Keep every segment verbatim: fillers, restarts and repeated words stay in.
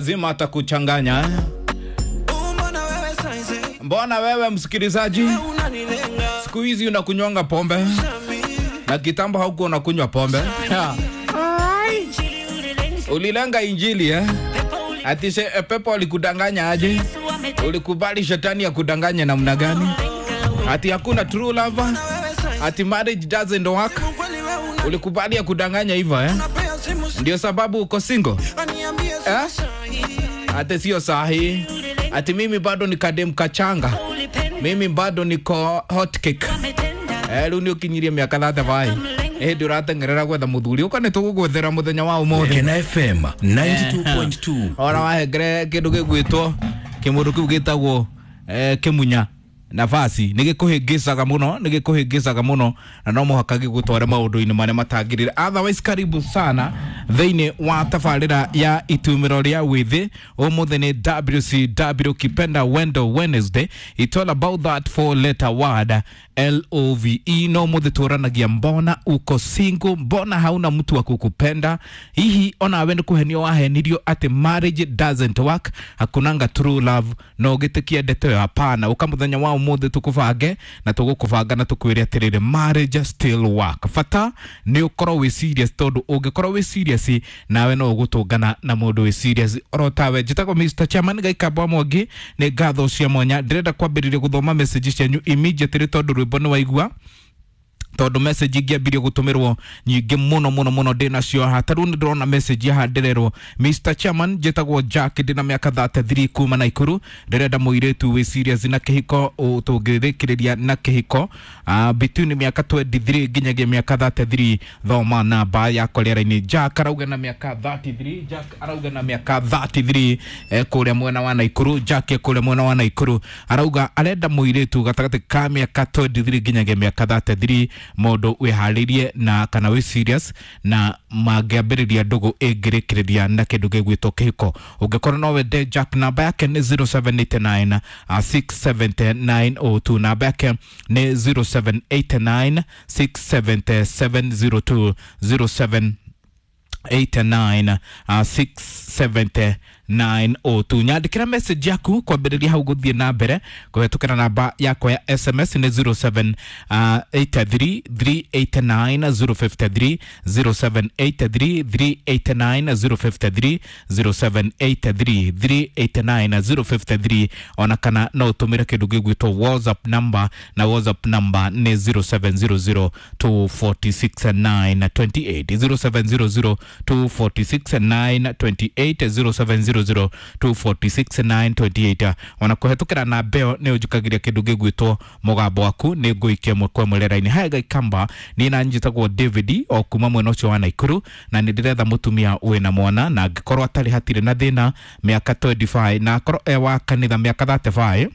Lazima atakuchanganya. Mbona wewe msikilizaji, siku hizi unakunywanga pombe na kitambo haukuwa unakunywa pombe? Ulilenga injili eh? Ati se, pepo alikudanganya aje? Ulikubali shetani ya kudanganya namna gani? Ati hakuna true love? Ati marriage doesn't work? Ulikubali ya kudanganya hivyo eh? Ndio sababu uko single eh? Ati sio sahi. Ati mimi bado ni kadem kachanga, mimi bado niko hot cake. Eh, rĩu nĩ ũkinyirie mĩaka thirty-five ĩndĩ ũratengerera gwetha mũthuri ũka nĩ tũgũgwethera mũthenya wa ũmũthĩ. Kena F M ninety-two point two. Ora wahengere kĩndũ gĩgwĩtwo kĩmũndũ kĩu gĩtagwo eh, kĩmunya nafasi nĩ gĩkũhĩngĩcaga mũno, nĩ gĩkũhĩngĩcaga mũno na no mũhaka gĩgũtware maũndũ-inĩ marĩa matagĩrĩire. Otherwise, karibu sana thĩinĩ wa tabarĩra ya itumĩro rĩa wĩthĩ. Ũmũthĩ nĩ W C W Kipenda Wendo Wednesday. It's all about that four letter word L O V E. No mũthĩ tũranagia mbona uko single, mbona hauna mtu wa kukupenda. Hihi ona we nĩ kũhenio wahenirio atĩ marriage doesn't work, hakunanga true love, no gĩtĩkie ndeto ĩyo? Hapana. Ũka mũthenya wa ũmũthĩ tũkũbange na tũgũkũbanga na tũkwĩre atĩrĩrĩ, marriage still work. Bata nĩ ũkorwo wĩ serious, tondũ ũngĩkorwo wĩ serious nawe no ũgũtũngana na mũndũ wĩ serious oro tawe. Njĩtagwo Mister Chairman Gaikamba Mwangi, nĩ ngatho cia mwanya. Ndĩrenda kwambĩrĩria gũthoma message cianyu immediately tondũ rwĩmbo nĩ waigua, tondũ message ingĩambirie gũtũmĩrwo nyingĩ mũno mũno mũno ndĩ nacio haha. Ta rĩu nĩ ndĩrona message haha ndĩrerwo, Mister Chairman, njĩtagwo Jack, ndĩna mĩaka thirty-three kuma Naikuru, ndĩrenda mũirĩtu wĩ serious na kĩhiko, tũngĩrĩkĩrĩria na kĩhiko uh, between mĩaka twenty-three nginyagia mĩaka thirty-three. Thoma namba yakwa rĩera-inĩ. Jack arauga na mĩaka thirty-three, Jack arauga na mĩaka thirty-three eh, kũrĩa mwena wa Naikuru. Jack kũrĩa mwena wa Naikuru arauga arenda mũirĩtu gatagatĩ ka mĩaka twenty-three nginyagia mĩaka thirty-three, mũndũ wĩharĩirie na kana wĩ serious na mangĩambĩrĩria ndũgũ ĩngĩrĩkĩrĩria na kĩndũ gĩgwĩtwo kĩhiko. Ũngĩkorwo no wende Jack, namba yake nĩ zero seven eight nine six seven nine oh two, namba yake nĩ zero seven eight nine six seven seven zero two, zero seven eight nine six seven nine oh two. Nyandĩkĩra message yaku kwambĩrĩria hau gũthiĩ na mbere kũhetũkĩra namba yakwa ya S M S nĩ zero seven eight three three eight nine zero five three, zero seven eight three three eight nine zero five three, zero seven eight three three eight nine zero five three. Ona kana no ũtũmĩre kĩndũ gĩgwĩtwo WhatsApp number, na WhatsApp number nĩ zero seven zero zero two four six nine two eight, zero seven zero zero two four six nine two eight, zero seven zero zero two four six nine two eight. Ona kũhetũkĩra namba ĩyo nĩ ũnjũkagĩria kĩndũ gĩgwĩtwo mũgambo waku, nĩ ngũikia ĩmwe kwa ĩmwe rĩera-inĩ. Haya Gaikamba, niĩ na njĩtagwo David o kuma mwena ũcio wa Naikuru, na nĩ ndĩretha mũtumia wĩna mwana, na angĩkorwo atarĩ hatirĩ na thĩna mĩaka twenty-five, na akorwo e wa kanitha mĩaka thirty-five,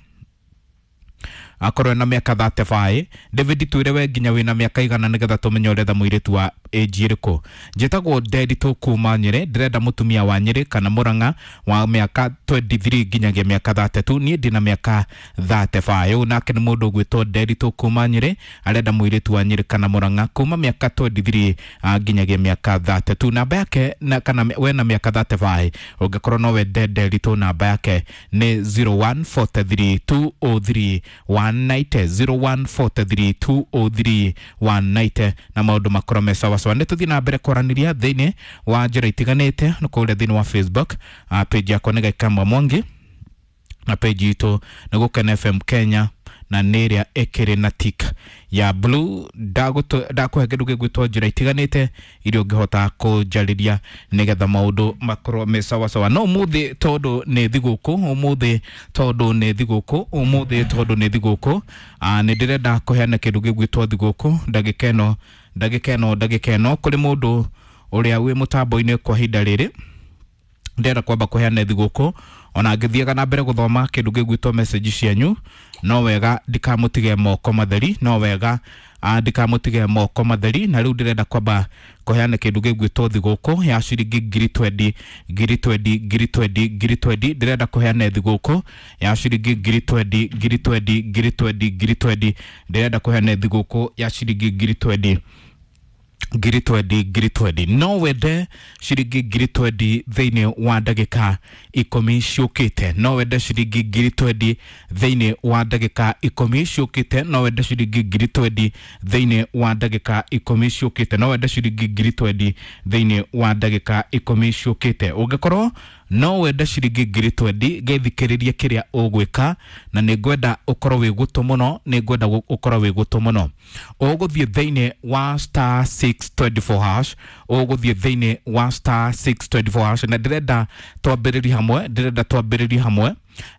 akorwo na mĩaka thirty-five. David twĩre we nginya wĩna mĩaka igana nĩgetha tũmenye ũretha mũirĩtu wa age ĩrĩkũ. Njĩtagwo Nderitu kuma Nyĩrĩ, ndĩrenda mũtumia wa Nyĩrĩ kana Mũrang'a wa mĩaka twenty-three nginyagia mĩaka thirty-two. Niĩ ndĩna mĩaka thirty-five. Ũyũ nake nĩ mũndũ ũgwĩtwo Nderitu kuma Nyĩrĩ, arenda mũirĩtu wa Nyĩrĩ kana Mũrang'a kuma mĩaka twenty-three nginyagia mĩaka thirty-two. Namba yake na kana we na mĩaka thirty-five, ũngĩkorwo no wende Nderitu, namba yake nĩ zero one four three two oh three one nine, zero one four three two oh three one nine, na maũndũ makorwo me sawa sawa. Nĩ tũthiĩ na mbere kwaranĩria thĩinĩ wa njĩra itiganĩte nĩ kũrĩa thĩinĩ wa Facebook, uh, page yakwa nĩ Gaikamba Mwangi, na page itũ nĩ Gũkena F M Kenya, na nĩ ĩrĩa ĩkĩrĩ na tick ya blue. Ndakũhe kĩndũ gĩgwĩtwo njĩra itiganĩte iria ũngĩhota kũnjarĩria nĩgetha maũndũ makorwo me sawa sawa. No ũmũthĩ tondũ nĩ thigũkũ, ũmũthĩ tondũ nĩ thigũkũ, ũmũthĩ tondũ nĩ thigũkũ, nĩ ndĩrenda kũheana kĩndũ gĩgwĩtwo thigũkũ ndagĩka ĩno, ndagĩka ĩno, ndagĩka ĩno kũrĩ mũndũ ũrĩa wĩ mũtambo-inĩ kwa ihinda rĩrĩ. Ndĩrenda kwamba kũheana thigũkũ, ona ngĩthiaga na mbere gũthoma kĩndũ gĩgwĩtwo message cianyu, no wega ndikamũtige moko matheri, no wega ndikamũtige moko matheri. Na rĩu ndĩrenda kwamba kũheana kĩndũ gĩgwĩtwo thigũkũ ya ciringi ngiri twenty, ngiri twenty, ngiri twenty, ngiri twenty. Ndĩrenda kũheana thigũkũ ya ciringi ngiri twenty, ngiri twenty, ngiri twenty, ngiri twenty. Ndĩrenda kũheana thigũkũ ya ciringi ngiri twenty. ngiri twendi ngiri twendi. No wende ciringi ngiri twendi thĩinĩ wa ndagĩka ikũmi ciũkĩte. No wende ciringi ngiri twendi thĩinĩ wa ndagĩka ikũmi ciũkĩte. No wende ciringi ngiri twendi thĩinĩ wa ndagĩka ikũmi ciũkĩte. No wende ciringi ngiri twendi thĩinĩ wa ndagĩka ikũmi ciũkĩte. Ũngĩkorwo no wende ciringi ngiri twendi, gethikĩrĩrie kĩrĩa ũgwĩka, na nĩ ngwenda ũkorwo wĩ gũtũ mũno, nĩ ngwenda ũkorwo wĩ gũtũ mũno. Ũgũthiĩ thĩinĩ wa star six twenty four hash, ũgũthiĩ thĩinĩ wa star six twenty four hash, na ndĩrenda twambĩrĩrie hamwe, ndĩrenda twambĩrĩrie hamwe,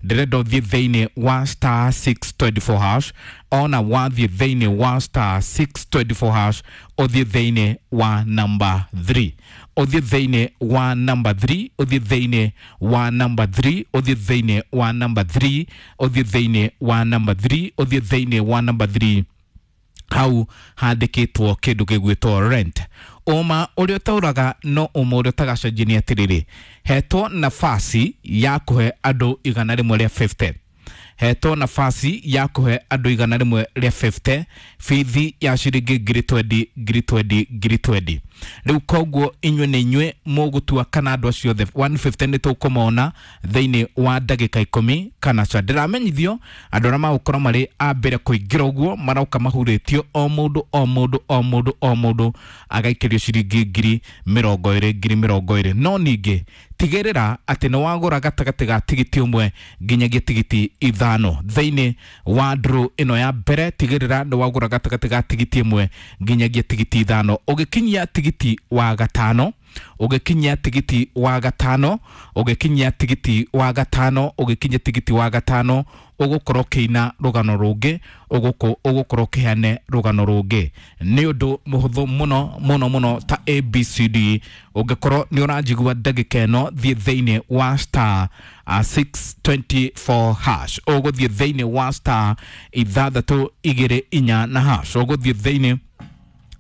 ndĩrenda ũthiĩ thĩinĩ wa star six twenty four hash. Ona wathiĩ thĩinĩ wa star six twenty four hash, ũthiĩ thĩinĩ wa number three, ũthiĩ thĩinĩ wa number three, ũthiĩ thĩinĩ wa number three, ũthiĩ thĩinĩ wa number three, ũthiĩ thĩinĩ wa number three, ũthiĩ thĩinĩ wa number three. Hau handĩkĩtwo kĩndũ gĩgwĩtwo rent. Ũma ũrĩa ũtaũraga no ũma ũrĩa ũtagacenjia nĩ atĩrĩrĩ, hetwo nafasi ya kũhe andũ igana rĩmwe rĩa fifty, hetwo nafasi ya kũhe andũ igana rĩmwe rĩa fifty bithi ya ciringi ngiri twendi ngiri twendi ngiri twendi. Rĩu koguo inyuĩ nĩ inyuĩ mũgũtua kana andũ acio othe one fifty nĩ tũkũmona thĩinĩ wa ndagĩka ikũmi kana ca. Ndĩramenyithio andũ arĩa magũkorwo marĩ a mbere kũingĩra ũguo maroka mahurĩtio o mũndũ o mũndũ o mũndũ o mũndũ agaikĩrio ciringi ngiri mĩrongo ĩrĩ ngiri mĩrongo ĩrĩ. No ningĩ tigĩrĩra atĩ nĩ wagũra gatagatĩ ga tigiti ũmwe nginyagia tigiti ithano thĩinĩ wa draw ĩno ya mbere. Tigĩrĩra nĩ wagũra gatagatĩ ga tigiti ĩmwe nginyagia tigiti ithano. Ũgĩkinyia tigiti wa gatano, ũgĩkinyia tigiti wa gatano, ũgĩkinyia tigiti wa gatano, ũgĩkinyia tigiti wa gatano, ũgũkorwo ũkĩina rũgano rũngĩ, ũgũkorwo ũkĩheane rũgano rũngĩ. Nĩ ũndũ mũhũthũ mũno mũno mũno ta A B C D. Ũngĩkorwo nĩ ũranjigua ndagĩka ĩno, thiĩ thĩinĩ wa star six twenty four hash, ũgũthiĩ thĩinĩ wa star ithathatũ igĩrĩ inya na hash, ũgũthiĩ thĩinĩ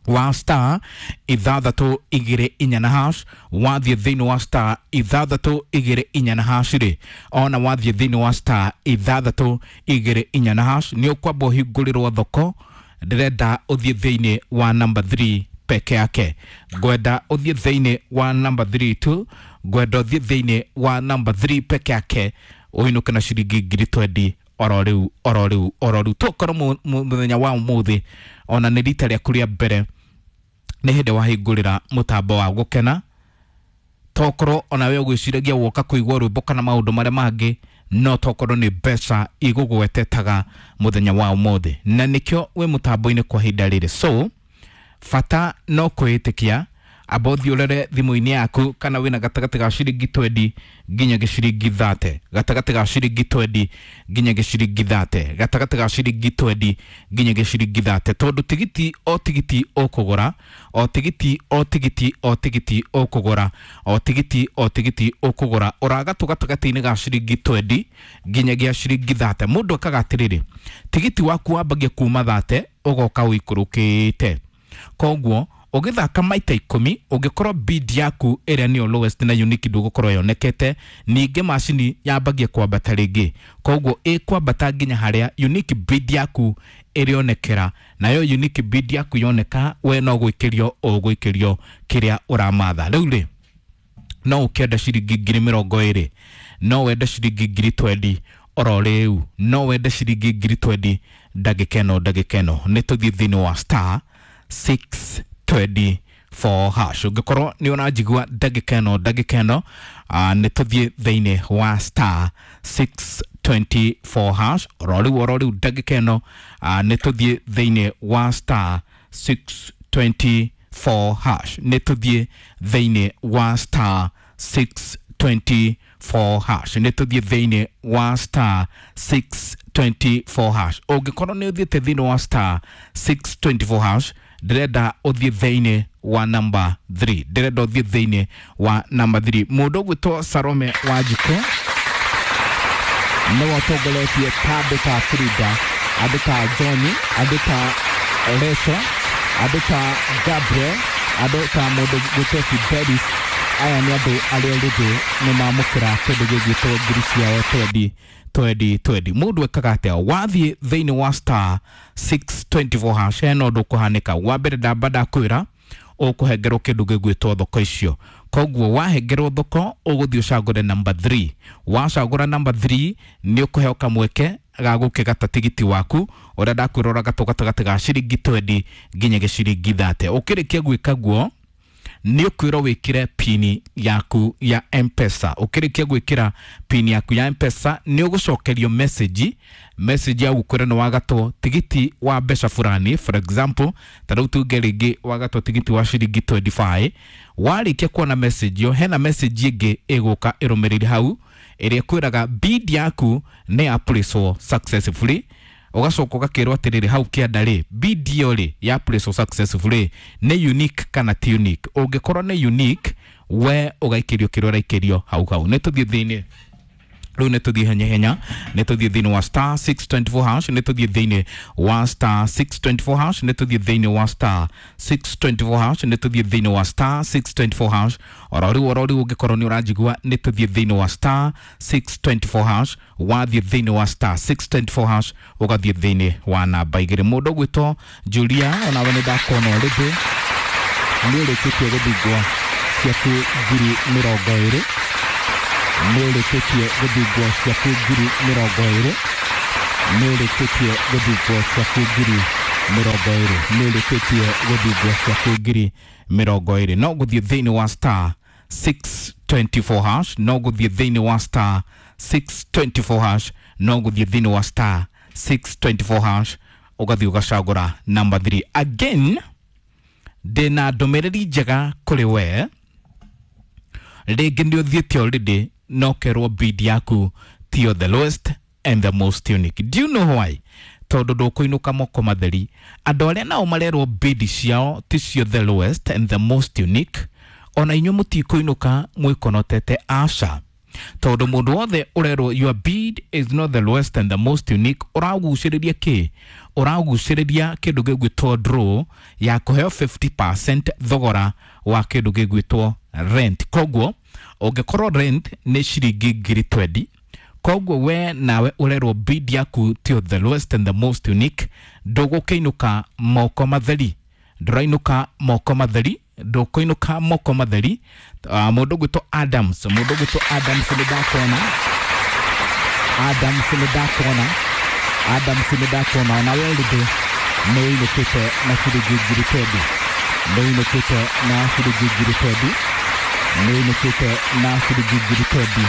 wa star ithathatũ igĩrĩ inya na hash. Wathiĩ thĩinĩ wa star ithathatũ igĩrĩ inya na hash rĩ, ona wathiĩ thĩinĩ wa star ithathatũ igĩrĩ inya na hash, nĩ ũkwamba ũhingũrĩrwo thoko. Ndĩrenda ũthiĩ thĩinĩ wa number three peke yake, ngwenda ũthiĩ thĩinĩ wa number three tu, ngwenda ũthiĩ thĩinĩ wa number three peke yake, ũinũke na ciringi ngiri twendi oro rĩu oro rĩu oro rĩu. Tokorwo mũthenya wa ũmũthĩ ona nĩ rita rĩaku rĩa mbere nĩ hĩndĩ wahingũrĩra mũtambo wa gũkena, tokorwo ona we ũgwĩciragia woka kũigua rwĩmbo kana maũndũ marĩa mangĩ, no tokorwo nĩ mbeca igũgwetetaga mũthenya wa ũmũthĩ, na nĩkĩo wĩ mũtambo-inĩ kwa ihinda rĩrĩ. So bata no kwĩĩtĩkia, amba ũthiĩ ũrore thimũ-inĩ yaku kana wĩna gatagatĩ ga ciringi twendi nginya ciringi thate, gatagatĩ ga ciringi twendi nginya ciringi thate, gatagatĩ ga ciringi twendi nginya ciringi thate, tondũ tigiti o tigiti ũkũgũra, o tigiti o tigiti o tigiti ũkũgũra, o tigiti o tigiti ũkũgũra, ũragatũ gatagatĩ-inĩ ga ciringi twendi nginyagia ciringi thate. Mũndũ akaga atĩrĩrĩ, tigiti waku wambagia kuma thate ũgoka ũikũrũkĩte, koguo ũgĩthaka maita ikũmi ũngĩkorwo bid yaku ĩrĩa nĩyo lowest na unique ndũgũkorwo yonekete, ningĩ macini yambagia kwambata rĩngĩ, koguo ĩkwambata nginya harĩa unique bid yaku ĩrĩonekera, nayo unique bid yaku yoneka we no gwĩkĩrio ũgwĩkĩrio kĩrĩa ũramatha. Rĩu rĩ, no ũkĩenda ciringi ngiri mĩrongo ĩrĩ, no wende ciringi ngiri twendi oro rĩu, no wende ciringi ngiri twendi ndagĩka ĩno ndagĩka ĩno. Nĩ tũthiĩ thĩinĩ wa star six twenty four hash. Ũngĩkorwo nĩ ũranjigua ndagĩka ĩno ndagĩka ĩno, nĩ tũthiĩ thĩinĩ wa star six twenty four hash oro rĩu oro rĩu ndagĩka ĩno, nĩ tũthiĩ thĩinĩ wa star six twenty four hash, nĩ tũthiĩ thĩinĩ wa star six twenty four hash, nĩ tũthiĩ thĩinĩ wa star six twenty four hash. Ũngĩkorwo nĩ ũthiĩte thĩinĩ wa star six twenty four hash, ndĩrenda ũthiĩ thĩinĩ wa number three, ndĩrenda ũthiĩ thĩinĩ wa number three. Mũndũ ũgwĩtwo Salome Wanjikũ nĩwe ũtongoretie ta andũ ta Frida, andũ ta Johnny, andũ ta Leso, andũ ta Gabriel, andũ ta mũndũ ũgwĩtwo Fidelis. Aya nĩ andũ arĩa rĩngĩ nĩ mamũkĩra kĩndũ gĩgwĩtwo ngiri ciao twendi twendi twendi. Mũndũ ekaga atĩa? Wathiĩ thĩinĩ wa star six twenty four hash, hena ũndũ ũkũhanĩka. Wa mbere ndamba ndakwĩra Ũkũhengerwo kĩndũ gĩgwĩtwo thoko icio. Koguo wahengerwo thoko ũgũthiĩ ũcagũre number three. Wacagũra number three nĩ ũkũheo kamweke ga gũkĩgata tigiti waku ũrĩa ndakwĩra ũragatwo gatagatĩ ga ciringi twenty nginya ciringi thirty. Ũkĩrĩkia gwĩka guo nĩ ũkwĩrwo wĩkĩre pini yaku ya M-Pesa. Ũkĩrĩkia gwĩkĩra pini yaku ya M-Pesa nĩ ũgũcokerio message message ya gũkwĩra nĩ wagatwo tigiti wa mbeca fulani. For example, ta rĩu tuge rĩngĩ wagatwo tigiti wa ciringi twenty-five. Warĩkia kuona message ĩyo, hena message ĩngĩ ĩgũka ĩrũmĩrĩire hau ĩrĩa ĩkwĩraga bid yaku nĩ ya place successfully. Ũgacoka ũgakĩrwo atĩrĩrĩ hau kĩanda rĩ, bid ĩyo rĩ ya place successfully nĩ unique kana ti unique. Ũngĩkorwo nĩ unique, we ũgaikĩrio kĩrĩa ũraikĩrio hau hau. Nĩ tũthiĩ thĩinĩ rĩu, nĩ tũthiĩ henya henya, nĩ tũthiĩ thĩinĩ wa star six twenty-four hash, nĩ tũthiĩ thĩinĩ wa star six twenty-four hash, nĩ tũthiĩ thĩinĩ wa star six twenty-four hash, nĩ tũthiĩ thĩinĩ wa star six twenty-four hash. Oro rĩu oro rĩu ũngĩkorwo nĩ ũranjigua, nĩ tũthiĩ thĩinĩ wa star six twenty-four hash. Wathiĩ thĩinĩ wa star six twenty-four hash ũgathiĩ thĩinĩ wa namba igĩrĩ. Mũndũ ũgwĩtwo Julia, onawe nĩ ndakuona already nĩ ũrĩkĩtie gũthingwo ciaku ngiri mĩrongo ĩrĩ, nĩ ũrĩkĩtie gũthingwo ciaku ngiri mĩrongo ĩrĩ, nĩ ũrĩkĩtie gũthingwo ciaku ngiri mĩrongo ĩrĩ, nĩ ũrĩkĩtie gũthingwo ciaku ngiri mĩrongo ĩrĩ. No gũthiĩ thĩinĩ wa star six twenty-four hash, no gũthiĩ thĩinĩ wa star six twenty-four hash, no gũthiĩ thĩinĩ wa star six twenty-four hash ũgathiĩ ũgacagũra number three. Again, ndĩna ndũmĩrĩri njega kũrĩ we. Rĩngĩ nĩ ũthiĩte already no kerwo bid yaku tiyo the lowest and the most unique. Do you know why? Tondũ ndũkũinũka moko matheri. Andũ arĩa nao marerwo bid ciao ticio the lowest and the most unique, ona inyuĩ mũtikũinũka mwĩkonotete, aca. Tondũ mũndũ wothe ũrerwo your bid is not the lowest and the most unique, ũragucĩrĩria kĩ? Ũragucĩrĩria kĩndũ gĩgwĩtwo draw ya kũheo fifty percent thogora wa kĩndũ gĩgwĩtwo rent. Koguo ũngĩkorwo rent nĩ ciringi ngiri twenty, koguo we nawe ũrerwo bid yaku tiyo the lowest and the most unique, ndũgũkĩinũka moko matheri, ndũrainũka moko matheri, ndũkũinũka moko matheri. uh, Mũndũ ũgwĩtwo Adams, mũndũ ũgwĩtwo Adams nĩ ndakuona, Adams nĩ ndakuona, Adams nĩ ndakuona, onawe already nĩ ũinũkĩte na ciringi ngiri twenty, nĩ ũinũkĩte na ciringi ngiri twenty, nĩ ũinũkĩte na ciringi ngiri twenty,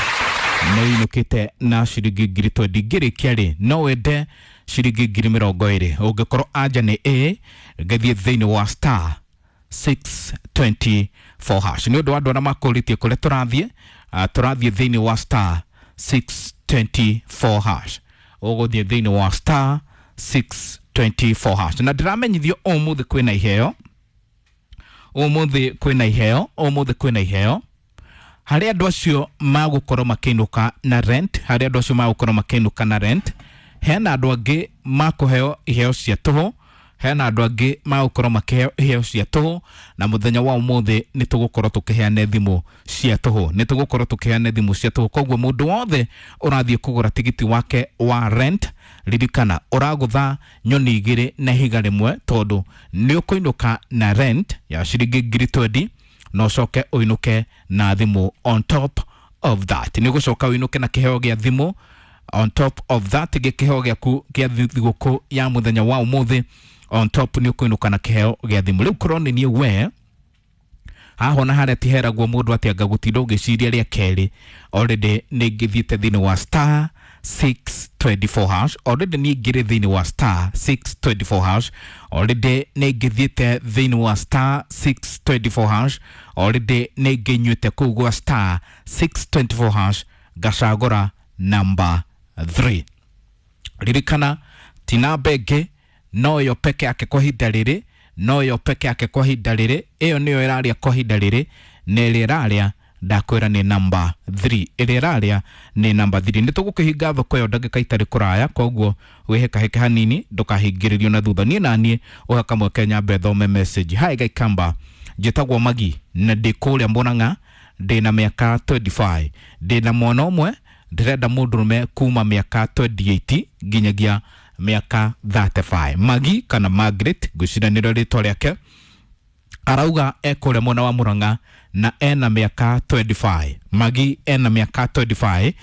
nĩ ũinũkĩte na ciringi ngiri twenty. Ngĩrĩkia rĩ, no wende ciringi ngiri mĩrongo ĩrĩ. Ũngĩkorwo anja nĩ A, ngathiĩ thĩinĩ wa star six twenty-four hash. Nĩ ũndũ wa andũ arĩa makũrĩtie kũrĩa tũrathiĩ, uh, tũrathiĩ thĩinĩ wa star six twenty-four hash. Ũgũthiĩ thĩinĩ wa star six twenty-four hash. Na ndĩramenyithio ũmũthĩ kwĩna iheo, ũmũthĩ kwĩna iheo, ũmũthĩ kwĩna iheo harĩ andũ acio magũkorwo makĩinũka na rent, harĩ andũ acio magũkorwo makĩinũka na rent. Hena andũ angĩ makũheo iheo cia tũhũ, hena andũ angĩ magũkorwo makĩheo iheo cia tũhũ, na mũthenya wa ũmũthĩ nĩ tũgũkorwo tũkĩheana thimũ cia tũhũ, nĩ tũgũkorwo tũkĩheana thimũ cia tũhũ. Koguo mũndũ wothe ũrathiĩ kũgũra tigiti wake wa rent, ririkana ũragũtha nyoni igĩrĩ na ihiga rĩmwe, tondũ nĩ ũkũinũka na rent ya ciringi ngiri twenty, na ũcoke ũinũke na thimũ on top of that. Nĩ ũgũcoka ũinũke na kĩheo gĩa thimũ on top of that, gĩkĩheo gĩaku gĩa thigũkũ ya mũthenya wa ũmũthĩ on top nĩ ũkũinũka na kĩheo gĩa thimũ. Rĩu korwo nĩ niĩ we haha ona harĩa tiheragwo mũndũ atĩ anga gũtinda ũgĩciria rĩa kerĩ, already nĩ ngĩthiĩte thĩinĩ wa star six twenty-four hash, already niĩ ngĩrĩ thĩinĩ wa star six twenty-four hash, already nĩ ngĩthiĩte thĩinĩ wa star six twenty-four hash, already nĩ ngĩnyuĩte kũu gwa star six twenty-four hash ngacagũra number three. Ririkana ti namba ĩngĩ, no yo peke yake kwa ihinda rĩrĩ, no yo peke yake kwa ihinda rĩrĩ, ĩyo nĩyo ĩrarĩa kwa ihinda rĩrĩ, na ĩrĩa ĩrarĩa ndakwĩra nĩ number three, ĩrĩa ĩrarĩa nĩ number three. Nĩ tũgũkĩhinga thoko ĩyo ndagĩka itarĩ kũraya, koguo wĩhĩkahĩke hanini ndũkahingĩrĩrio na thutha. Niĩ naniĩ ũhe kamweke nyambe thome message. Hi Gaikamba, njĩtagwo Magi na ndĩ kũrĩa Murang'a, ndĩna mĩaka twenty-five, ndĩna mwana ũmwe, ndĩrenda mũndũrũme kuma mĩaka twenty-eight nginyagia mĩaka thirty-five. Magi kana Margaret, ngwĩciria nĩrĩo rĩtwa rĩake. Arauga ekũrĩa mwena wa Murang'a na ena mĩaka mĩrongo ĩĩrĩ na ithano. Magi ena mĩaka mĩrongo ĩĩrĩ na ithano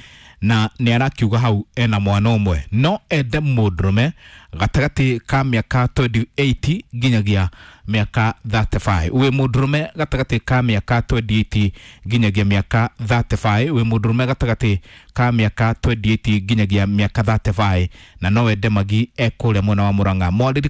na nĩ arakiuga hau ena mwana ũmwe, no ende mũndũrũme gatagatĩ ka mĩaka mĩrongo ĩĩrĩ na ĩnana nginyagia mĩaka mĩrongo ĩtatũ na ithano. Wĩ mũndũrũme gatagatĩ ka mĩaka mĩrongo ĩĩrĩ na ĩnana nginyagia mĩaka mĩrongo ĩtatũ na ithano, wĩ mũndũrũme gatagatĩ ka mĩaka mĩrongo ĩĩrĩ na ĩnana nginyagia mĩaka mĩrongo ĩtatũ na ithano na no wende magi ekũrĩa mwena wa Murang'a, mwarĩrĩ.